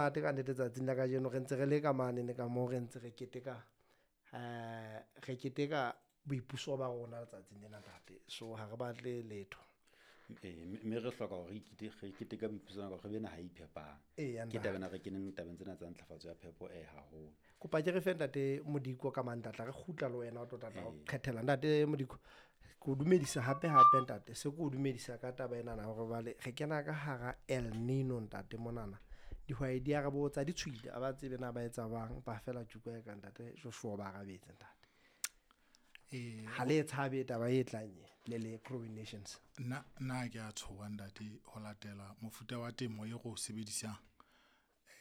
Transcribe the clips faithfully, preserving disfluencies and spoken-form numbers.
Ate ka nnete tsatsing la kajeno re ntse re le ka manene ka moo re ntse re keteka eh re keteka boipuso ba rona letsatsing lena ntate. So ha re batle letho. Ee, mme re hloka hore re ikete re keteka boipuso ba re be naha e iphepang. Eya Ke ntate. taba ena re keneng tabeng tsena tsa ntlafatso ya phepo eh haholo. Kopa ke re fe ntate Modiko ka Mantatla re kgutla le wena o tlo tlatla o Ee. qhethela ntate Modiko. Ke o dumedisa hape hape ntate. Se ke o dumedisa ka taba enana hore jwale re kena ka hara El Nino ntate monana. Dihwai di a re botsa di tshohile ha ba tsebe na ba etsa bang ba fela tjuka e ka ntate Joshua ba arabetse ntate. Ee, Ha le e tshabe taba e tlang e le le Growing Nations. nna nna ke a tshoha ntate ho latela mofuta wa temo e re o sebedisang.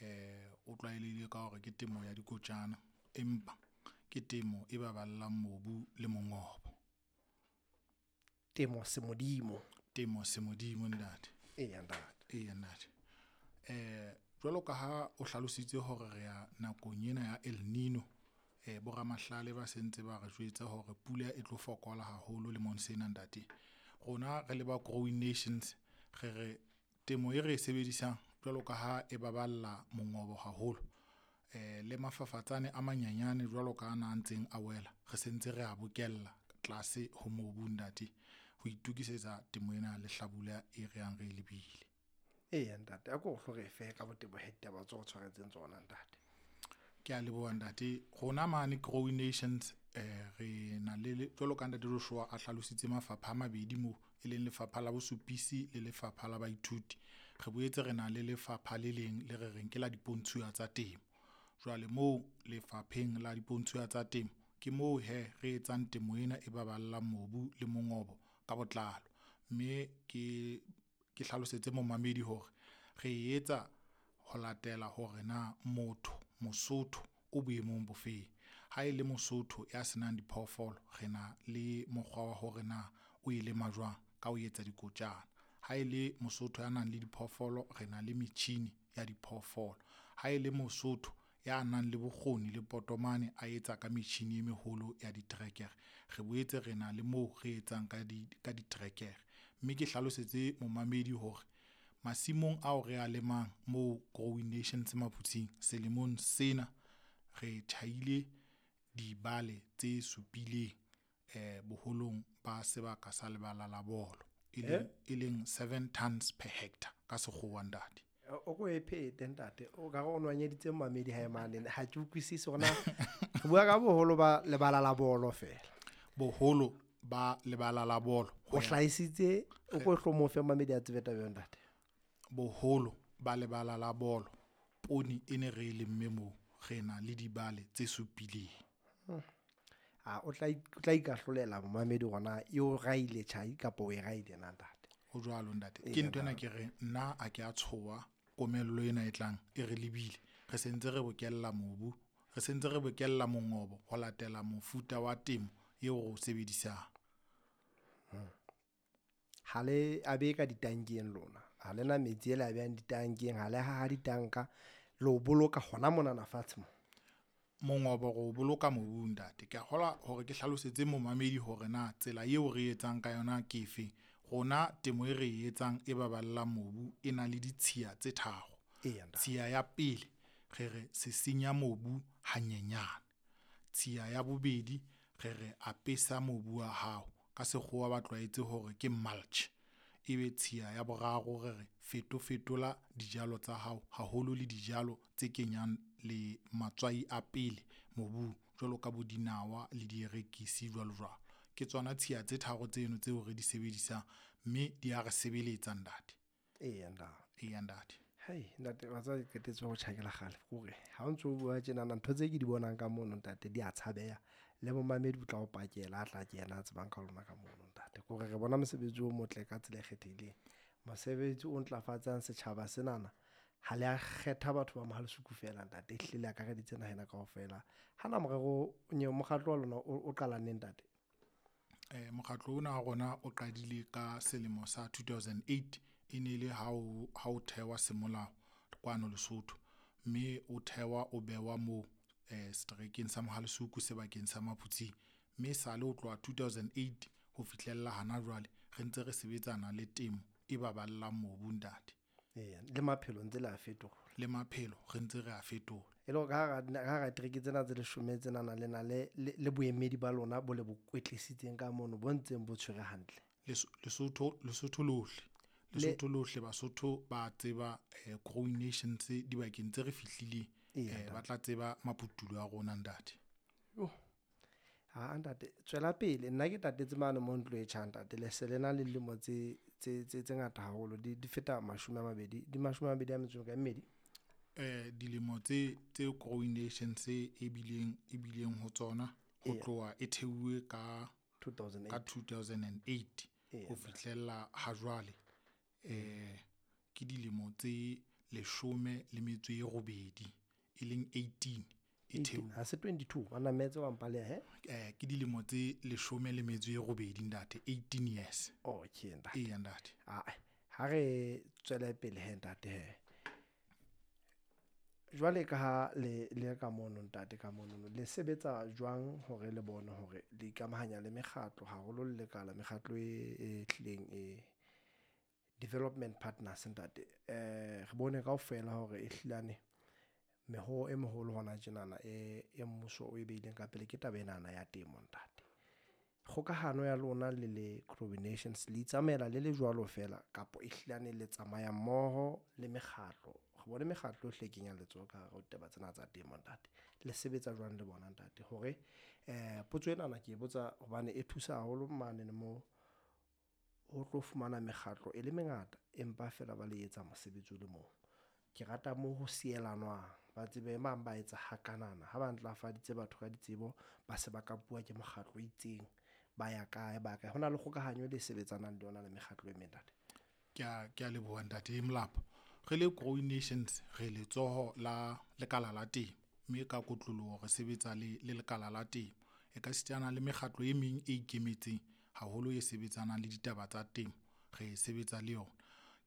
Eh o tlwaelehile ka hore ke temo ya dikotjana, empa ke temo e baballang mobu le mongobo. Temo semodimo. Temo semodimo ntate. Eya ntate. Eya ntate. Eh jwalo ka ha o hlalositse hore re ya nakong ena ya El Nino, eh boramahlale ba sentse ba re jwetsa hore pula e tlo fokola haholo lemong sena ntate. Rona re le ba Growing Nations re re temo e re e sebedisang jwalo ka ha e baballa mongobo haholo eh le mafafatsane a manyanyane jwalo ka ana a ntseng a wela, re sentse re a bokella tlase ho mobu ntate ho itokisetsa temo ena ya lehlabula e re yang re e lebile. Eya ntate, a ko hlo re fe ka botebo he ditaba tseo o tshwaretseng tsona ntate. Ke a leboha ntate. Rona mane Growing Nations eh re na le jwalo ka ntate Joshua a hlalositse mafapha a mabedi moo e leng lefapha la bosupisi le lefapha la baithuti. Re boetse re na le lefapha le leng le re reng ke la dipontshuwa tsa temo. Jwale moo lefapheng la dipontshuwa tsa temo ke moo hee re etsang temo ena e baballang mobu le mongobo ka botlalo. Mme ke ke hlalosetse momamedi hore re e etsa ho latela hore na motho Mosotho o boemong bo feng. Ha e le Mosotho ya senang diphoofolo, re na le mokgwa wa hore na o e lema jwang ka ho etsa dikotjana. Ha e le Mosotho ya nang le diphoofolo, re na le metjhini ya diphoofolo. Ha e le Mosotho ya nang le bokgoni le potomane a etsa ka metjhini e meholo ya diterekere, re boetse re na le moo re etsang ka di ka diterekere. Mme ke hlalosetse momamedi hore masimong ao re a lemang moo Growing Nations Maphutsing selemong sena re tjhaile dibale tse supileng eh boholong ba sebaka sa lebala la bolo, e leng e leng seven tons per hectare ka sekgowa ntate. O ko e phete ntate, o ka re o nwanyeditse mamedi hae mane ha ke utlwisise hore na re bua ka boholo ba lebala la bolo fela. Boholo ba lebala la bolo O hlahisitse o ko hlo mo fe mamedi a tsebe taba eo ntate. Boholo ba lebala la bolo poone e ne re e lemme moo re na le dibale tse supileng. A o tla o tla ikahlolela momamedi hore na e o raile tjhai kapa o e raile na ntate. Ho jwalo ntate. Ke ntho ena ke re nna ha ke a tshoha komello ena e tlang e re lebile. Re sentse re bokella mobu, re sentse re bokella mongobo ho latela mofuta wa temo eo re o sebedisang. Ha le a be ka ditankeng lona. Ha le na metsi ele a behang ditankeng, ha le haha ditanka le o boloka hona monana fatshe mo. Mongobo re o boloka mobung ntate. Ke a kgolwa hore ke hlalosetse momamedi hore na tsela eo re etsang ka yona ke efeng. Rona temo e re e etsang e baballang mobu e na le ditshiya tse tharo. Eya ntate. Tshiya ya pele re re sisinya mobu hanyenyane. Tshiya ya bobedi re re apesa mobu wa hao ka sekgowa ba tlwaetse hore ke mulch. Ebe tshiya ya boraro re re fetofetola dijalo tsa hao haholo le dijalo tse kenyang le matswai a pele mobung jwalo ka bo dinawa le dierekisi jwalo jwalo. Ke tsona tshiya tse tharo tseno tseo re di sebedisang mme di a re sebeletsa ntate. Eya ntate. Eya ntate. Hei ntate wa tseba ke qetetse ho tjhakela kgale hore ha o ntso bua tjenana ntho tse ke di bonang ka mono ntate di a tshabeha. Le momamedi o tla o pakela a tla kena a tsebang ka lona ka mono ntate. Ke hore re bona mosebetsi o motle ka tsela e kgethehileng. Mosebetsi o ntlafatsang setjhaba senana. Ha le a kgetha batho ba Mohalesuku fela ntate, ehlile le akareditse naha ena kaofela. Hana morero mokgatlo wa lona o qala neng ntate? Eh mokgatlo ona wa rona o qadile ka selemo sa two thousand eight e ne le ha o ha o thehwa semolao kwano Lesotho, mme o thehwa o behwa moo eh seterekeng sa Mohalesuku sebakeng sa Maphutsing. Mme sale ho tloha two thousand eight ho fihlella hana jwale re ntse re sebetsana le temo e baballang mobu ntate. Eya, le maphelo ntse le a fetola. le maphelo re ntse re a fetola. E le ka hara tereke tsena tse leshome tsenana le na le le boemedi ba lona bo le bo kwetlisitseng ka mono bo ntseng bo tshwere hantle. Lesotho Lesotho lohle Lesotho lohle Basotho ba tseba Growing Nations dibakeng tse re fihlileng, ba tla tseba maputulo a rona ntate. Ha ntate tswela pele, nna ke tatetse mane mo ntlo e tjha ntate. Le se le na le dilemo tse tse tse tse ngata haholo, di di feta mashome a mabedi, di mashome a mabedi a metso e mmedi. Eh dilemo tse tse Growing Nations e bileng e bileng ho tsona ho tloha e theuwe ka two thousand ka two thousand and eight ho fihlella ha jwale, eh ke dilemo tse leshome le metso e robedi e leng eighteen e theuwe. Ha se twenty-two wa metse wa mpaleha he? Eh ke dilemo tse leshome le metso e robedi ntate, eighteen years. Okay ntate. Eya ntate. Ah ha re tswele pele he ntate he. Jwale ka ha le le ka mono ntate ka mono le sebetsa jwang hore le bone hore le ikamahanya le mekgatlo haholo le lekala mekgatlo e e hlileng e development partners ntate. Eh re bone kaofela hore e hlilane meho e moholo hona tjenana e e mmuso o e beileng ka pele ke taba enana ya temo ntate. Kgokahano ya lona le le Growing Nations le itsamaela le le jwalo fela kapa e hlilane le tsamaya mmoho le mekgatlo? Re bone mekgatlo yohle e kenyang letsoho ka hare ho ditaba tsena tsa temo ntate. Le sebetsa jwang le bona ntate? Hore eh potso enana ke e botsa hobane e thusa haholo mane mo ho tlo fumana mekgatlo e le mengata empa fela ba le etsa mosebetsi o le mong. Ke rata mo ho sielanwang, ba tsebe mang ba etsa hakanana ha ba ntlafaditse batho ka ditsebo ba se ba kapuwa ke mokgatlo o itseng ba ya kae ba kae. Ho na le kgokahanyo e le sebetsanang le yona le mekgatlo e meng ntate. Ke a ke a leboha ntate Molapo. Re le Growing Nations re letsoho la lekala la temo, mme ka kotloloho re sebetsa le le lekala la temo. E ka sitana le mekgatlo e meng e ikemetseng haholo e sebetsanang le ditaba tsa temo, re sebetsa le yona.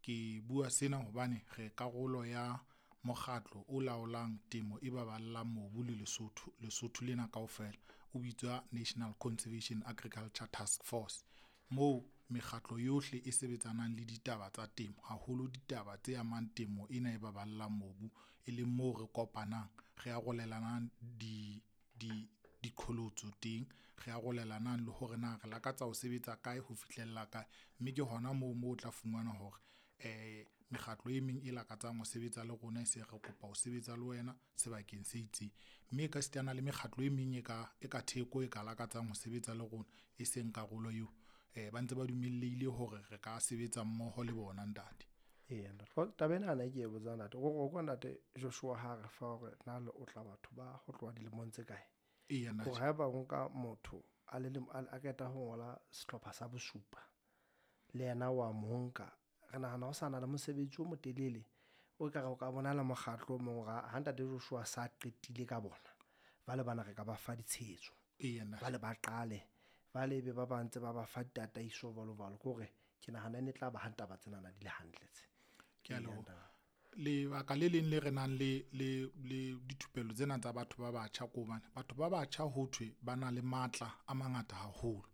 Ke bua sena hobane re karolo ya mokgatlo o laolang temo e baballang mobu le Lesotho Lesotho lena kaofela o bitswa National Conservation Agriculture Task Force. Moo mekgatlo yohle e sebetsanang le ditaba tsa temo haholo ditaba tse amang temo ena e baballang mobu, e leng moo re kopanang re arolelanang di di diqholotso teng, re arolelanang le hore na re lakatsa ho sebetsa kae ho fihlella kae. Mme ke hona moo moo o tla fumana hore eh mekgatlo e meng e lakatsang ho sebetsa le rona e se re kopa ho sebetsa le wena sebakeng se itseng. Mme e ka sitana le mekgatlo e meng e ka e ka theko e ka lakatsang ho sebetsa le rona e seng karolo eo. Eh ba ntse ba dumellehile hore re ka sebetsa mmoho le bona ntate. Eya ntate, taba ena ke e botsa ntate. O kwa ntate Joshua ha re fa hore na le otla batho ba ho tloha dilemong tse kae? Eya ntate. Hore haeba o nka motho a le a qeta ho ngola sehlopha sa bosupa le yena wa mo nka, re nahana ho sa na le mosebetsi o motelele o ka re o ka bona le mokgatlo o mong ha ntate Joshua sa qetile ka bona ba le bana re ka ba fa ditshehetso. Eya ntate. Ba le ba qale ba lebe ba ba ntse ba ba fa ditataiso jwalo jwalo. Ke hore ke nahana e ne tla ba ha taba tsenana di le hantle tse. Ke a leboha. Lebaka le leng le re nang le le le dithupelo tsena tsa batho ba batjha ke hobane batho ba batjha ho thwe ba na le matla a mangata haholo,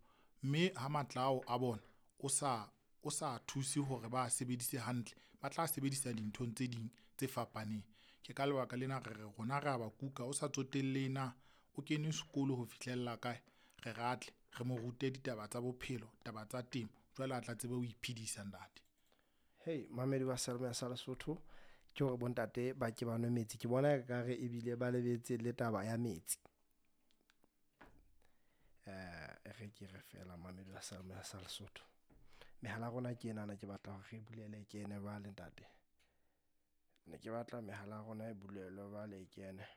mme ha matla ao a bona o sa o sa thuse hore ba sebedise hantle, ba tla sebedisa dinthong tse ding tse fapaneng. Ke ka lebaka lena re re rona re a ba kuka o sa tsotelle na o kene sekolo ho fihlella kae, re ratle re mo rute ditaba tsa bophelo, taba tsa temo, jwale a tla tsebe ho iphedisa ntate. Hey mamedi wa Salome sa Lesotho, ke hore bontate ba ke ba nwe metsi. Ke bona ekare ebile ba lebetse le taba ya metsi. Eh re ke re fela mamedi wa Salome sa Lesotho. Mehala rona ke enana, ke batla hore re bulele kene jwale ntate. Ne ke batla mehala rona e bulelwe jwale e kene.